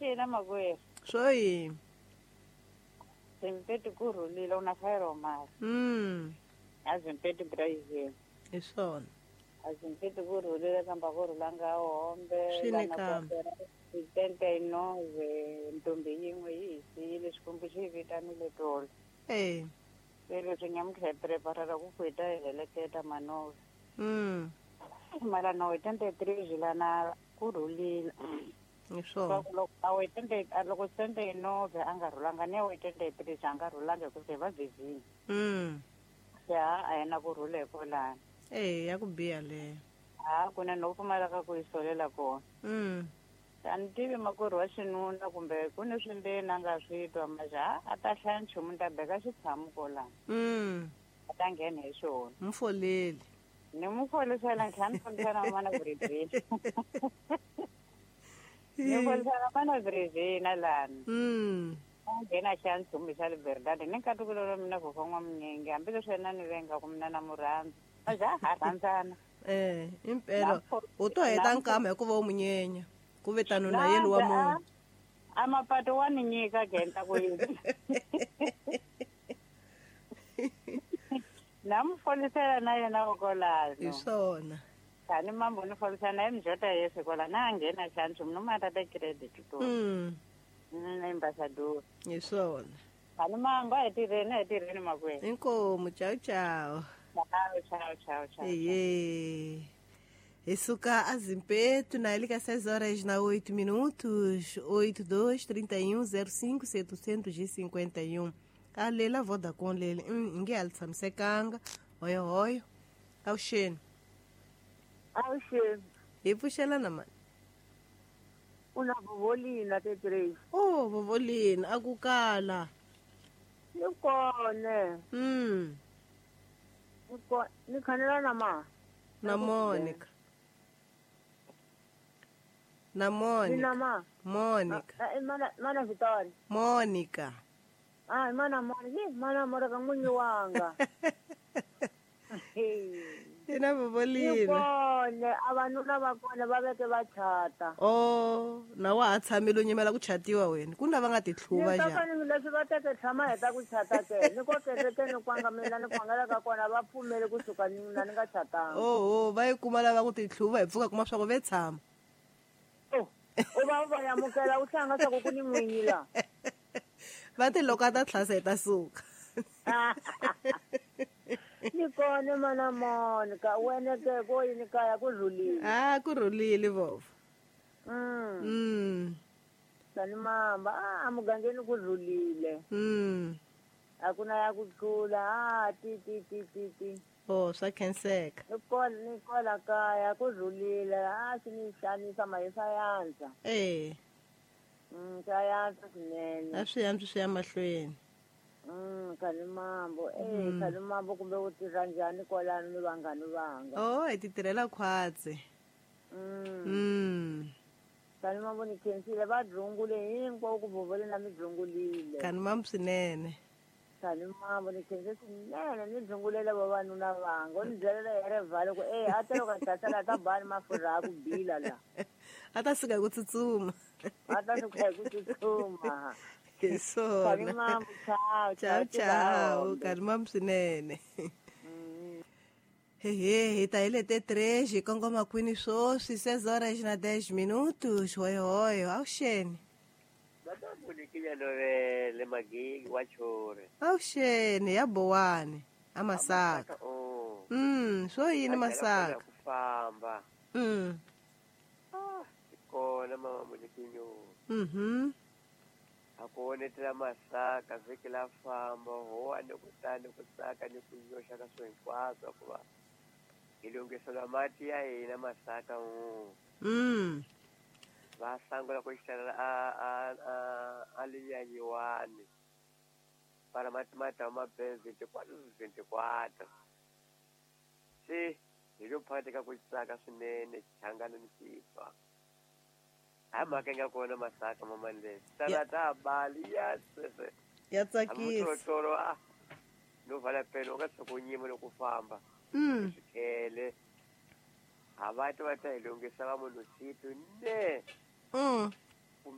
Xina makwerhu. Swo yini? Zimpeti ku rhulile u na fayiro mali. A Zimpeti Brazil. Hi swona. A Zimpeti ku rhulile kambe a ku rhulanga hombe. Swi ni kambe. Tente nove ntombi yin'we yi hi siyile Xikwembu xi yi vitanile tolo. Eh. Se leswi nyamuntlha hi preparela ku ku hi ta hi heleketa manove. Mara no hi tente three lana ku rhulile. Hi swona. Loko a wu tente loko tente nove a nga rhulanga ni wu tente three a nga rhulanga hi ku se va busy. Se a a yena ku rhula hi kwalano. Eh ya ku biha leyo. Ha ku na no pfumaleka ku yi solela kona. A ni tivi makwerhu wa xinuna kumbe ku ni swindzeni a nga swi twa maja a ta hlaya nchumu ni ta beka xitshamu kolano. A ta nghena hi xona. Mfoleli. Ni mu folisela ni tlhela ni folisela mana Brizina. Ni folisela mana Brizina lani. A nghena hlaya nchumu xa Liberdade ni nkatukulo wa mina vhofo n'wamunyenge hambileswi yena ni vengaku mina na mu rhandza. Maja ha rhandzana. Eh, impela u to heta nkama hikuva u munyenya. Ku ve tano na yena wa munhu. A mapato wa ni nyika genta ku yini. Na mu folisela na yena ukolano. Hi swona. Tani mambo ni folisela na mjota Yesu kola na nghena xanchu no mata ta credit to. Ambassador. Hi swona. Tani mambo a tirheni makwenu. Inkomu ciao ciao. Ciao ciao ciao ciao. Iye. Hi suka a Zimpeto na liga 6 horas na 8 minutos 82 31 05 751. A lela Vodacom lele nge a li tshamisekanga hoyo hoyo. Avuxeni. Avuxeni. Hi pfuxelana mani? U na Vovolina te Grace. Oh Vovolina a ku kala. Ni kone. Ni khanela na ma. Na Monica. Na Monica. Ni na ma. Monica. Mana Vitória. Monica. Ai, mana Monica, mana Monica n'winyi wanga. Ina Vovolina. Ni kone, a vanuna va kona va veke va chata. Oh, na wa ha tshamile u nyimela ku chatiwa wena. Ku na va nga ti tlhuva njhani? Ni ta leswi va teke tshama heta ku chata ke. Ni ko kereke ni kwanga mina ni kwangela ka kona va pfumele kusuka ni mina ni nga chatanga. Oh, va yi kuma lava ku ti tlhuva hi pfuka kuma swa ku ve tshama. Oh, u va u va yamukela u hlanga swa ku ku ni n'winyi la. Va ti loko a ta tlhasa hi ta suka. Ni kone mana Monica, wena ke ko yini kaya ku rhulile. Ah, ku rhulile vova. Tani mamba, a mugangeni ku rhulile. A ku na ya ku tlula, a ti ti ti ti ti. Oh, swa khenseka. Ni kola kaya ku rhulile, a swi ni xanisa mahi swa yantswa. Eh. Swa yantswa swinene. A swi yantswi swi ya mahlweni. Khalimambo, Khalimambo kumbe u tirha njhani kwalano ni vanghani vanga? Oh, hi ti tirhela khwatsi. Khalimambo ni khensile va dzungule hinkwavo ku vovole na mi dzungulile. Khalimambo swinene. Khalimambo ni khense swinene ni dzungulela vavanuna vanga. U ni byelela hi rivalo ku a ta loko a hlasela ta bani mafurha a ku bila la. A ta suka hi ku tsutsuma. A ta suka hi ku tsutsuma. Hi swona. Ciao, ciao, ciao. Khalimambo swinene. Hehe, hi ta hi lete 3 hi kongoma kwini swoswi 6 horas na 10 minutos. Hoyo hoyo, avuxeni. Lovele magigi wa chore. Avuxeni ya Bowani a Masaka. Swo yini Masaka? Ku famba. Kona mama Monikinyo. A ku onetela Masaka vhiki la famba ho ni ku ta ni ku tsaka ni ku nyoxa ka swo hinkwaswo ku va hi lunghisela mati ya hina Masaka Va sangula ku xitala a linyanyiwani para mati mata ma be 24 24 se hi lo phakathi ka ku tsaka swinene changana ni xifa hayi mhaka yi nga kona Masaka mamani tala ta bali ya sese ya tsakisa tolo a no vala pelo ka tsoko nyima loko famba swikhele a va ta va ta hi lunghisa va munhu situ ne